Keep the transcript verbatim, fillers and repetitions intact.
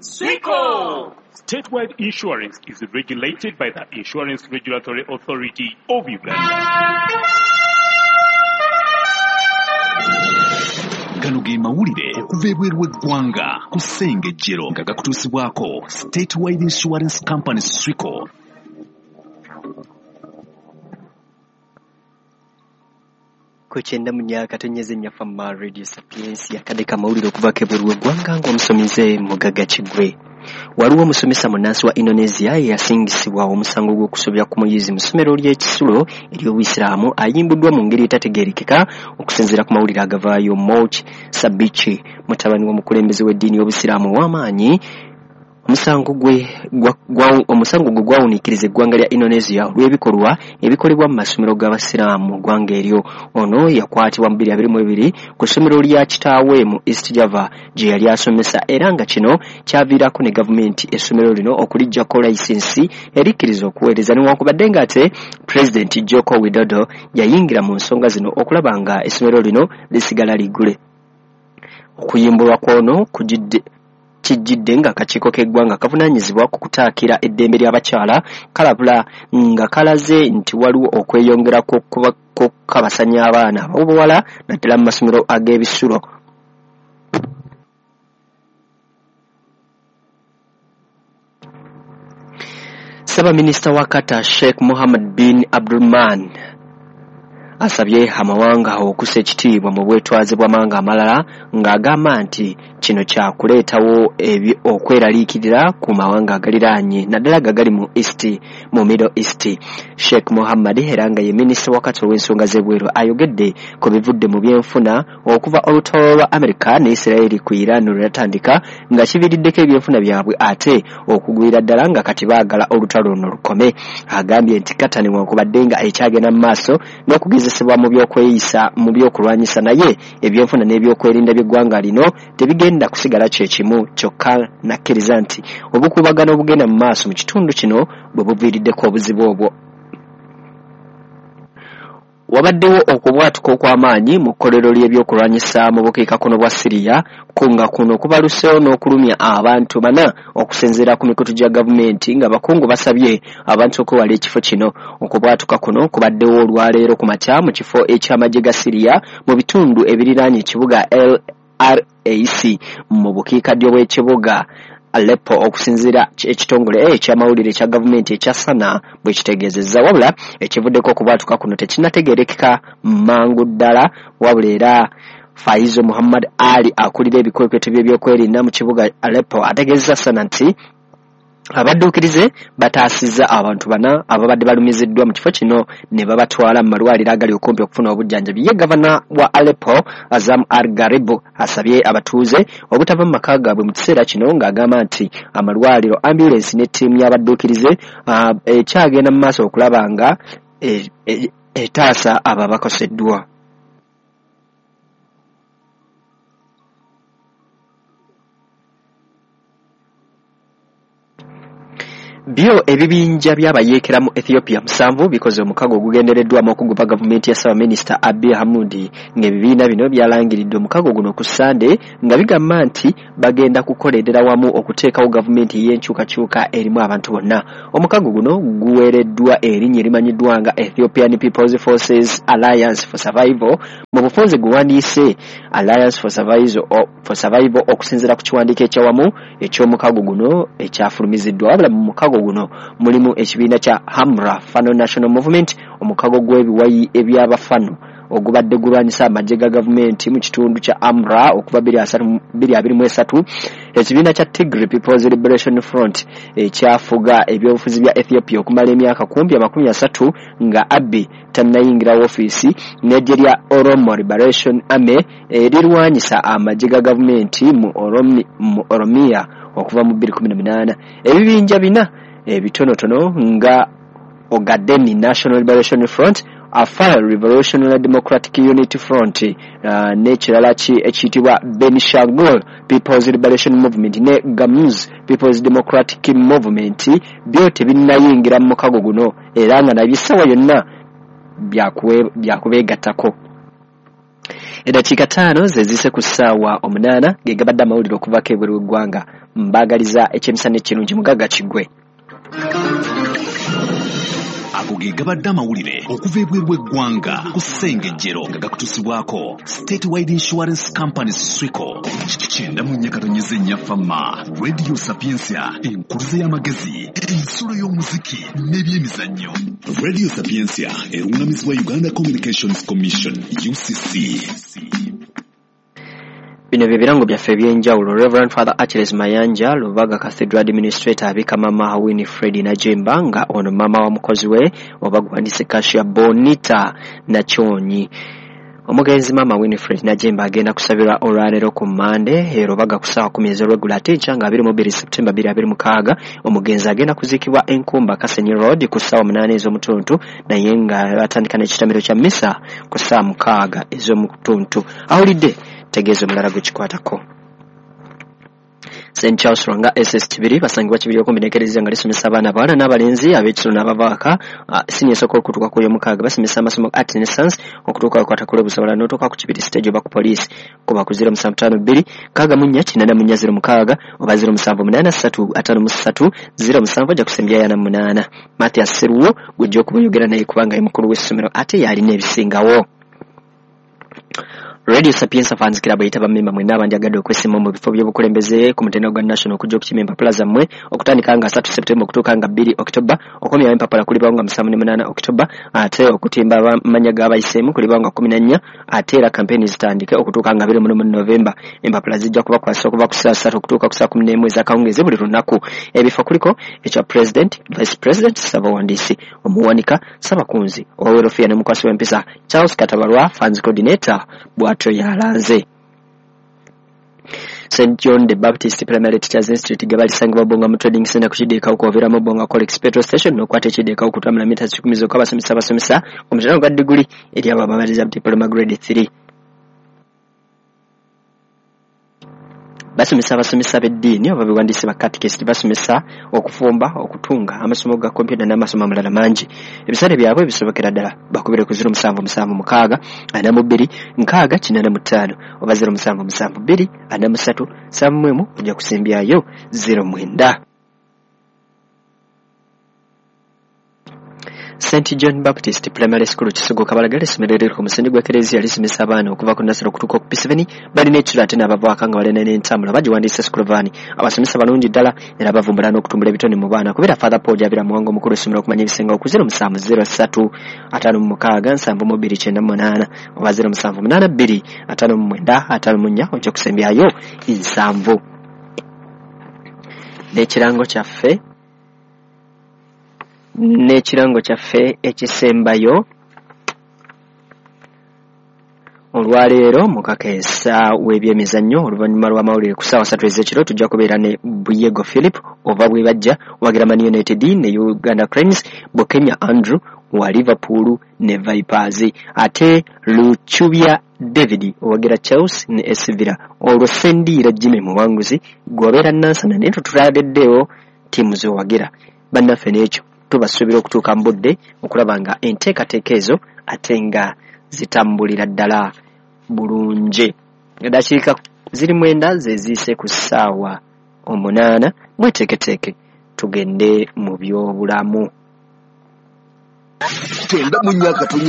Swico! Statewide Insurance is regulated by the Insurance Regulatory Authority of Uganda. Gano ge mawulire okuva ebweru w'eggwanga ku Ssengejjero nga gakutuusibwako Statewide Insurance Company Swico. Ku kyenda mu myaka tonyeze nnyafa ma Radio Sapiens yakadde kamawulire okuvaako ebweru w'eggwanga ng'omusomize Mugagga Kiggwe. Waliwo omusomesa munnansi wa Indonesia eyasingisibwa omusango gw'okusobya ku muyizi mu ssomero ly'ekisulo ery'Obuyisiraamu ayimbuddwa mu ngeri etategeerekeka okusinziira ku mawulire agavaayo. Moch Sabichi, mutabani w'omukulembeze w'eddiini y'Obusiraamu ow'amaanyi, omusango gwe omusango gwe gwawuniikiriza eggwanga lya Indonesia olw'ebikolwa ebikolebwa mu masomero g'Abasiraamu mu ggwanga eryo. Ono yakwatibwa mu bbiri abiri mu ebiri ku ssomero lya kitaawe mu East Java gye yali asomesa, era nga kino kyaviirako ne gavumenti essomero lino okuliggyako layisinsi erikkiriza okuweereza, newankubadde ng'ate Pulezidenti Joko Widodo yayingira mu nsonga zino okulaba nga essomero lino lisigala liggule. Okuyimbulwa kw'ono kujidde kijjidde ng'akakiiko k'eggwanga kavunaanyizibwa ku kutaakira eddembe ly'abakyala kalabula nga kalaze nti waliwo okweyongera kw'okukabasanya abaana ab'obuwala naddala mu masomero ag'ebisulo. Ssaabaminisita wa Qatar Sheikh Mohammed bin Abdulrahman asabye amawanga okussa ekitiibwa mu bwetwaze bw'amawanga amalala ng'agamba nti kino kyakuleetawo okweraliikirira ku mawanga agaliraanye naddala nga gali mu East mu Middle East. Sheikh Mohammed era nga ye minisita wa Qatar ow'ensonga z'ebweru ayogedde ku bivudde mu byenfuna okuva olutalo lwa America ne Israel ku Iran lwe lwatandika nga kiviiriddeko ebyenfuna byabwe ate okugwira ddala nga kati baagala olutalo luno lukome. Agambye nti Qatar newankubadde nga ekyagenda mu maaso n'okugezesebwa mu by'okweyisa mu by'okulwanyisa, naye ebyenfuna n'ebyokwerinda by'eggwanga lino tebigenda kusigala kye kimu kyokka nakkiriza nti obukuubagano obugenda mu maaso mu kitundu kino bwe buviiriddeko obuzibu obwo. Wabaddewo okubwatuka okw'amaanyi mu kkolero ly'ebyokulwanyisa mu bukiikakkono bwa Syria nga kuno kubaluseewo n'okulumya abantu bana okusinziira ku mikutu gya gavumenti nga bakungu basabye abantu okwewala ekifo kino. Okubwatuka kuno kubaddewo olwaleero ku makya mu kifo eky'amagye ga Syria mu bitundu ebiriraanye ekibuga L R A C mu bukiikaddyo bw'ekibuga Aleppo okusinziira ekitongole eky'amawulire ekya gavumenti ekya Sana bwe kitegeezezza. Wabula ekivuddeko okubwatuka kuno tekinnategeerekeka mangu ddala, wabula era Faizo Muhammad Ali akulira ebikwekweto by'ebyokwerinda mu kibuga Aleppo ategeezezza Sana nti abadduukirize bataasizza abantu bana ababadde balumiziddwa mu kifo kino ne babatwala mu malwaliro agali okumpi okufuna obujjanjabi. Ye gavana wa Aleppo Azam Al-Gharibu asabye abatuuze obutava mu maka gaabwe mu kiseera kino ng'agamba nti amalwaliro, ambulensi ne ttiimu y'abadduukirize ekyagenda mu maaso okulaba nga etaasa abo abakoseddwa. Byo ebibinja by'abayeekera mu Ethiopia musanvu bikoze omukago ogugendereddwamu okugoba gavumenti ya Ssaabaminisita Abiy Ahmed, ng'ebibiina bino byalangiridde omukago guno ku Ssande nga bigamba nti bagenda kukolerera wamu okuteekawo gavumenti ey'enkyukakyuka erimu abantu bonna. Omukago guno guweereddwa erinnya erimanyiddwa nga Ethiopian People's Forces Alliance for Survival, mu bufunze guwandiise Alliance for Survival, for Survival okusinziira ku kiwandiiko ekyawamu eky'omukago guno ekyafulumiziddwa. Wabula mu mukago guno mulimu ekibiina kya Hamra Fano National Movement, omukago gw'ebiwayi eby'abafano ogubadde gulwanyisa amagye ga gavumenti mu kitundu kya Amra okuva bbiri abiri mu esatu, ekibiina kya Tigray People's Liberation Front ekyafuga ebyobufuzi bya Ethiopia okumala emyaka kumpi amakumi asatu nga Abiy tannayingira woofiisi, n'eggye lya Oromo Liberation Army erirwanyisa amagye ga gavumenti mu Oromia okuva mu bbiri kumi na munaana. Ebibinja bina ebitonotono nga Ogaden National Liberation Front, Afar Revolutionary Democratic Unity Front, uh, n'ekirala ekiyitibwa Benishangul People's Liberation Movement ne Gamuz People's Democratic Movement byo tebinnayingira mu mukago guno era nga nabyo essaawa yonna byakubeegattako. Eddakiika ttaano ze ziyise ku ssaawa omunaana, ge gabadde amawulire okuvaako ebweru w'eggwanga. Mbaagaliza ekyemisana ekirungi, mugagga kiggwe. Ago ge gabadde amawulire okuva ebweru w'eggwanga ku Ssengejjero, nga gakutuusibwako Statewide Insurance Company Swico. Kyenda mu nnya katonyeze nnya Fama Radio Sapientia, enkuluze y'amagezi, ensulo y'omuziki n'ebyemizannyo. Radio Sapientia erungamizibwa Uganda Communications Commission U C C. Bino bye birango byaffe eby'enjawulo. Reverend Father Achilles Mayanja, Lubaga Cathedral Administrator, abika Mama Winifred Najemba, nga ono mama wa mukozi we oba guwandiise Kasia Bonita Nakyonyi. Omugenzi Mama Winifred Najemba agenda kusabirwa olwaleero ku Mmande e Lubaga ku ssaawa kkumi ez'olweggulo, ate enkya nga abiri mu bbiri September bbiri abiri mukaaga omugenzi agenda kuziikibwa Enkumba Kasenyi Road ku ssaawa munaana ez'omutuntu, naye nga batandika n'ekitamiro kya mmisa ku ssaawa mukaaga ez'omutuntu. Awulidde tegeeza omulala gwe kikwatako. Saint Charles Lwanga S S Kibiri basangibwa Kibiri okumbi n'ekereziya nga lisomesa abaana abawala n'abalenzi ab'ekisolo n'abavaaka siniya esooka okutuuka ku ey'omukaaga. Basomesa amasomo Arts and Science okutuuka ku Katakule Busobola n'otuuka ku Kibiri stage oba ku poliisi. Kuba ku zero musanvu ttaano bbiri nkaaga mu nnya kinaana mu nnya zero mukaaga oba zero musanvu munaana ssatu ataano mu ssatu zero musanvu ajja kusembyayo ana munaana. Mathias Seruwo gw'ojja okuba oyogera naye kubanga ye mukulu w'essomero ate y'alina ebisingawo. Radio Sapientia Fans Club eyita bammemba mwenna abandyagadde okwesimba mu bifo by'obukulembeze ku mutendera gwa national okujja okukima empapula zammwe okutandika nga asatu September okutuuka nga bbiri October. Okomyawo empapula kulibawo nga musanvu ne munaana October, ate okutimba amannya g'abayiseemu kulibawo nga kkumi na nnya, ate era kampeyini zitandike okutuuka nga abiri mu lumu November. Empapula zijja kubakwasa okuva ku ssaawa ssatu okutuuka ku ssaawa kkumi n'emu ez'akawungeezi buli lunaku. Ebifo kuliko ekya President, Vice President, Ssabawandiisi, Omuwanika, Ssabakunzi, Owerofiya ne Mukwasi w'empisa Charles Katabalwa, Fans Coordinator, bw'atyo yalanze. Saint John the Baptist Primary Teachers Institute ge balisangibwa Bonga mu Trading Center ku Kideekawo kw'oviiramu Bonga Colex Petrol Station n'okwata Ekideekawo okutambula mita kikumi zokka. Abasomesa basomesa ku mutendera gwa diguli eri abo abamaliriza diploma grade three. Basomesa abasomesa b'eddiini oba bewandiise ba catechist, basomesa okufumba, okutunga, amasomo ga kompyuta n'amasomo amalala mangi. Ebisale byabwe bisobokera ddala. Bakubire ku zero musanvu musanvu mukaaga ana mu bbiri nkaaga kinaana mu ttaano oba zero musanvu musanvu bbiri ana mu ssatu nsanvu mu emu ojja kusimbyayo zero mwenda. Saint John Baptist Primary School Kisogo Kabalagala, essomero eriri ku musingi gw'ekereziya lisomesa abaana okuva ku nursery okutuuka ku P seven. Balina ekiro ate n'abavaako nga balina n'entambula bagiwandiisa school van. Abasomesa balungi ddala era bavumbula n'okutumbula ebitone mu baana. Kubera Father Paul Jabira Muwanga omukulu w'essomero okumanya ebisingawo ku zero musanvu zero ssatu ataano mu mukaaga nsanvu mu bbiri kyenda mu munaana oba zero musanvu munaana bbiri ataano mu mwenda ataano mu nnya ojja kusembyayo nsanvu. N'ekirango kyaffe n'ekirango kyaffe ekisembayo olwaleero mu kakeesa w'ebyemizannyo oluvannyuma lw'amawulire ku ssaawa ssatu ez'ekiro tujja kubeera ne Buyego Philip ova Bwebajja wagira Man United ne Uganda Cranes, Bukenya Andrew wa Liverpool ne Vipers, ate Luchubya David owagira Chelsea ne A C Villa. Olwo Sendiira Jimmy Muwanguzi gw'obeera Nansana, naye tutulaleddewo ttiimu z'owagira. Bannaffe n'ekyo tubasuubira okutuuka mu budde okulaba nga enteekateeka ezo ate nga zitambulira ddala bulungi. Eddakiika ziri mwenda ze ziyise ku ssaawa omunaana, mweteeketeeke tugende mu byobulamu. Kyenda mu nnya katonyi